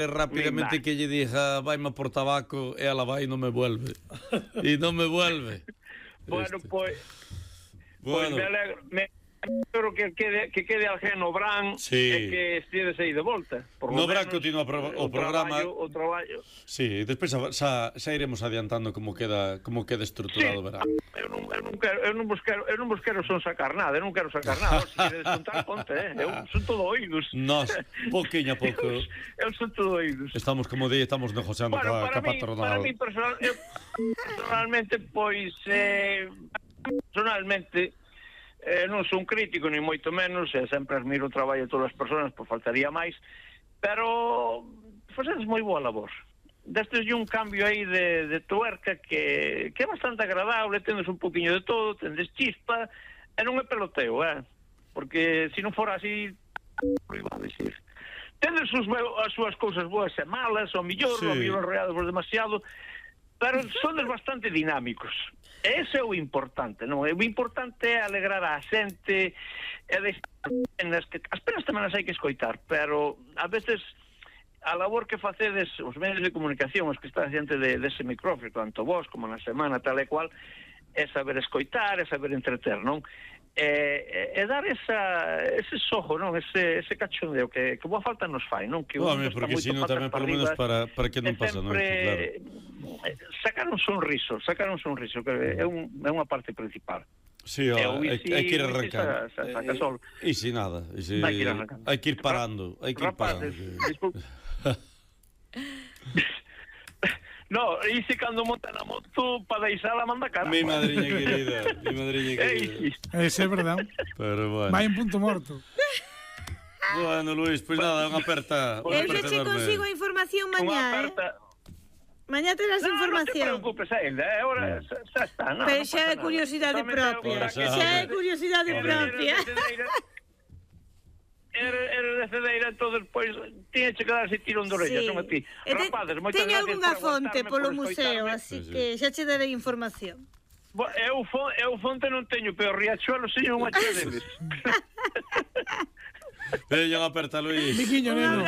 rápidamente que lle diga vaime por tabaco e ela vai e non me vuelve. E non me vuelve. Bueno, pois Bueno, me alegro que quede alguén no Bran sí. E que estides aí de volta. Por no lo Bran menos, continúa o programa. O traballo. Sí, despois xa iremos adiantando como queda estruturado o verán. Eu non vos quero son sacar nada, eu non quero sacar nada. Se queredes contar, conte, eu son todo oídos. Nós, pouquinho a pouco. Eu son todo oídos. Estamos, como di, estamos negociando ca patronal. Para mí personalmente, pois, personalmente, non son crítico, ni moito menos, sempre admiro o traballo de todas as persoas, pois faltaría máis, pero facedes moi boa labor. Destes un cambio aí de tuerca que é bastante agradable, tendes un poquinho de todo, tendes chispa, e non é peloteo, porque se non fora así, tendes as súas cousas boas e malas, ao mellor arreados por demasiado, pero sodes bastante dinámicos. Ese é o importante, non? O importante é alegrar a xente e as penas tamén as hai que escoitar, pero a veces a labor que facedes os medios de comunicación, os que están diante dese micrófono, tanto vos como na semana tal e cual, é saber escoitar, é saber entreter, non? E dar ese sojo, non? Ese cachondeo que boa falta nos fai, non? Que porque sino tamén polo menos para que non pasa, non? Claro. Sacar un sonriso, que é unha parte principal. Sí, hai que ir arrancando. E si nada, hai que ir parando, Disculpe. No, ixe cando monta na moto para deixala manda cara. Mi madriña querida. Ese é verdade. Pero bueno. Vai en punto morto. Bueno, Luis, pois nada, unha aperta. Eu xa che consigo a información mañá, Mañá terás información. Non te preocupes ainda, agora xa está. Pero xa é curiosidade propia. Xa é curiosidade propia. Era de Cedeira, todo despois tiña que darse tirón de orella, son a ti. Rapazes, moitas teño gracias algunha por fonte polo por museo, así que xa che darei información. Eu fonte non teño, pero Riachuelo seño unha chea deles. Veña unha aperta, Luis. Miquiño, neno.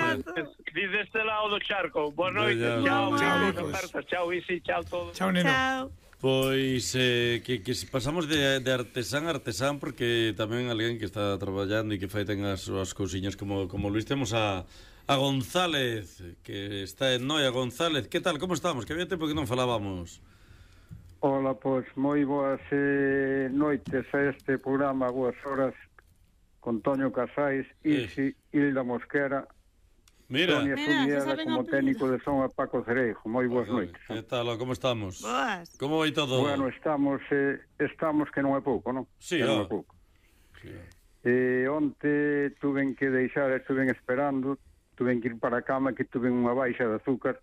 Diz deste lado do charco. Boa noite. Chao, Isi, chao todo. Chao, neno. Chao. Pois que pasamos de artesán a artesán, porque tamén alguén que está traballando e que fai ten as súas cousiñas como Luis. Temos a González, que está en Noia. González, que tal, como estamos? Que había tempo que non falábamos. Ola, pois moi boas noites a este programa, boas horas, con Toño Casais, Isi, Hilda Mosquera, Sonia Subiela como técnico de son a Paco Cereijo. Moi boas noites. Que tal, como estamos? Boas. Como vai todo? Bueno, estamos que non é pouco, non? Sí, non é pouco. Onte tuven que deixar, estuven esperando, tuven que ir para a cama, que tuven unha baixa de azúcar.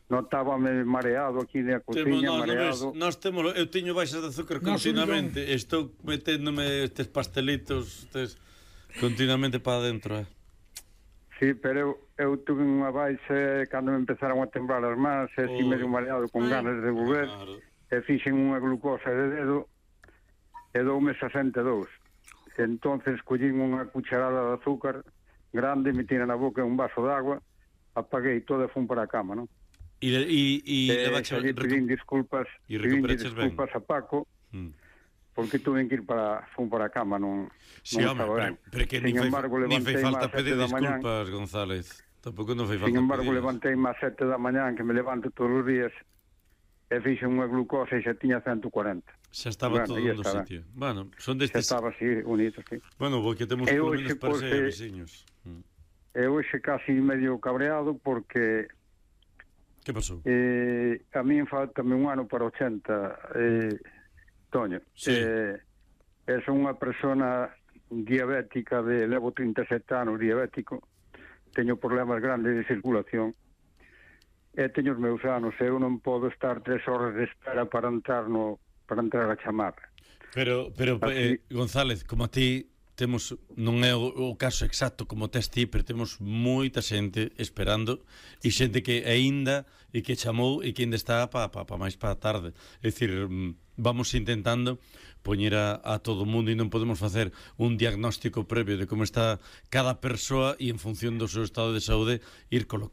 Notábame mareado aquí na cociña, mareado. Nós temos, eu teño baixas de azúcar continuamente, estou meténdome estes pastelitos continuamente para adentro, Sí, pero eu tuve unha baixa cando me empezaron a temblar as mans, e así medio mareado con ganas de volver, e fixen unha glucosa de dedo, e doume 62. Entonces collín unha cucharada de azúcar grande, metí na boca un vaso de agua, apaguei todo e fun para a cama, non? E pedín disculpas a Paco, porque tuve que ir fun para a cama, non estaba ben. Pero que nin fai falta pedir disculpas, González. Tampouco non fai falta. Sin embargo, levantei máis 7 da mañán, que me levanto todos os días, e fixe unha glucosa e xa tiña 140. Xa estaba todo no sitio. Bueno, son destes... Xa estaba así, bonito, sí. Bueno, porque temos polo menos para ser veciños. E hoxe casi medio cabreado, porque... Que pasou? A mí faltame un ano para 80, Toño. Son unha persona diabética, levo 37 anos diabético, teño problemas grandes de circulación, e teño os meus anos, eu non podo estar 3 horas de espera para entrar a chamarra. Pero González, como a ti temos, non é o caso exacto como tes ti, pero temos moita xente esperando e xente que aínda e que chamou e que ainda está pa máis para a tarde. É dicir, vamos intentando poñer a todo o mundo e non podemos facer un diagnóstico previo de como está cada persoa e en función do seu estado de saúde ir colocando